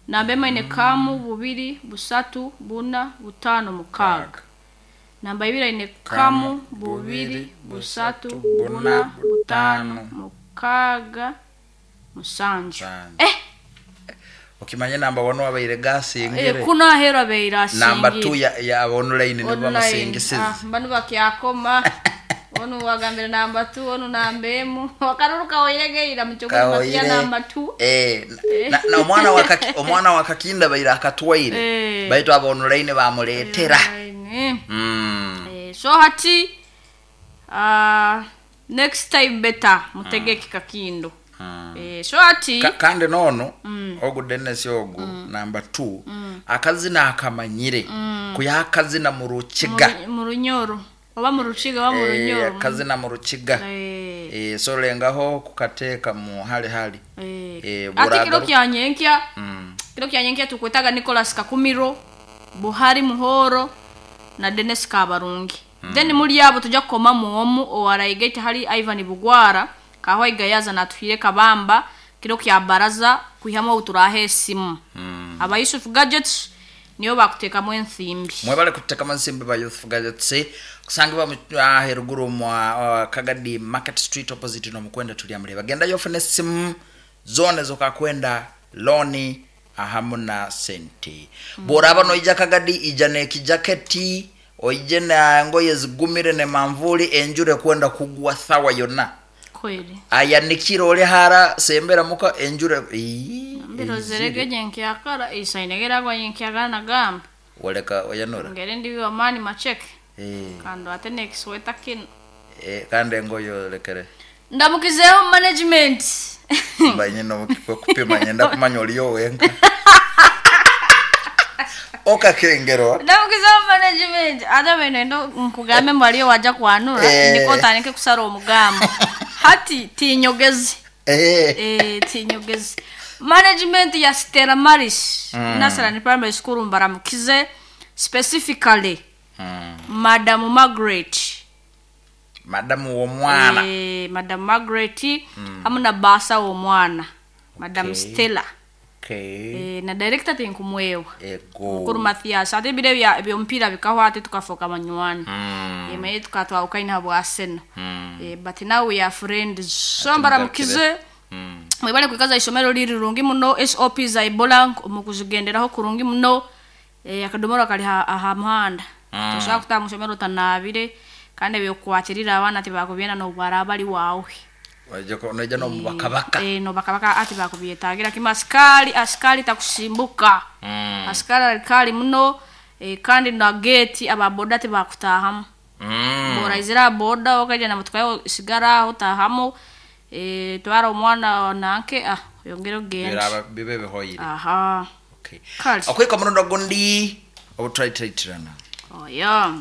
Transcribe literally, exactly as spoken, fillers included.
Namba emu aine kamu, bubiri, busatu, buna, butaano, mukaaga. Namba ibiri aine kamu, bubiri, busatu, buna, butaano, mukaaga, musanju. Musanju. Eh, okimanye namba one wabaire eh, gasingire. Kuno aheeru abaire Namba two asingire. ya, ya online nibo Online. bamusingisize. Ah, banu bakyakoma, onu wagambire namba two, onu namba emu, akaruru kawoiregeira mukyogoni Kawoire. batia namba two. Eh, na, na omwana wa Kaki- omwana wa Kakinda baire akatwaire, Eh. baitu aba online bamuleetera. Online. Mm. Eh, so hati uh, next time better mutegeke Kakindo. Eh, so hati Ka, kandi nono ogu Dennis, ogu namba two, akazina akamanyire kuya akazina mu Rukiga. mu- mu Runyoro oba mu Rukiga oba mu Eh, Runyoro. Akazina mu Rukiga. Eh, Eh, so lengaho kukateeka mu hali hali. eh. Eh, Ati kiro buragaru- kya nyenkya, Mm. kiro kya nyenkya tukwetaga Nicholas Kakumiro, Buhari Muhoro na Dennis Kabarungi. Then muri abo tujya kukomamu omu owaraigaite hali Ivan Bugwara kahwaiga yaza natuhire kabamba kiro kya baraza kwihamu obu turaha esimu. Aba Yusuf Gadgets niyo bakutekamu ensimbi. Mwebale kutekamu ensimbi ba Youth Gadgets, kusangibwa mu ah, heruguru mwa uh, Kagadi Market Street, opposite nomukwenda tulyamuleba. Gendayo ofune esimu zona zokakwenda loni ahamu na sente. Bworaba noija Kagadi, ija nekijaketi, oije na ngoye zigumire ne manvuli, enjura ekwenda kugwa thawa yonna. Kweli. Ayanikire oli hara sembera muka enjura. Ii, Mbirozerege nyenkyakara isainegera nyenkyakara nagamba waleka oyanura. Ngere ndi amani macheke Eh, kando ate nekisweta kino. eh, kandi engoye olekere. Ndamukizeho management. Mbanye nokupima nyenda kumanya oliyo wenka okakengerwa. Ndamukizeho management, ate beno endo nkugambe mbu aliyo wajja kwanura. Eh. Ndiko otandike kusara omugambo hati tinyogezi. Eh, Eh, tinyogezi. Management ya Stella Maris mm. Nasarani Primary School, mbaramukize specifically mm. Madam Margaret. Madamu w'omwana. Eh, Madam Margaret hamu na basa w'omwana Madam Okay. Stella. Okay. Eh, na director tinkumwewa, Ego. Mukuru Mathias. Ate ebiro ebya- ebyomupiira bikahwa, ate tukafoka banywani. Mm. mm. Emaye tukatwawukaine habwa Arsenal. Mm. Eh, but now we are friends, so mbaramukize. Mm. Mwebale kwikaza isomero liri rirungi muno. S O P za Ebola mukuzigenderaho kurungi muno. Eh, akadomoro kali ha- aha muhanda. Mm. Tosobola kutaha musomero otanabire, kandi ebyokukwatirira abaana tibakubyenda nobwaraba bali waawe. Waija ko- noija nomubakabaka. Eh, nobakabaka ati bakubyetagira kimu. Asikali, asikali takusimbuka. Mm. Asikali alikali muno, eh, kandi na gate ababoda tibakutahamu. Mm. Boraizira boda okaija na motoka yawe sigara aho tahamu, eh, twara omwana nanke, ah, oyongere ogende. Biraba bibe bihoyire. Aha. Okay. Kale. Okwika murundo gundi obutwaitiraitirana. Oya.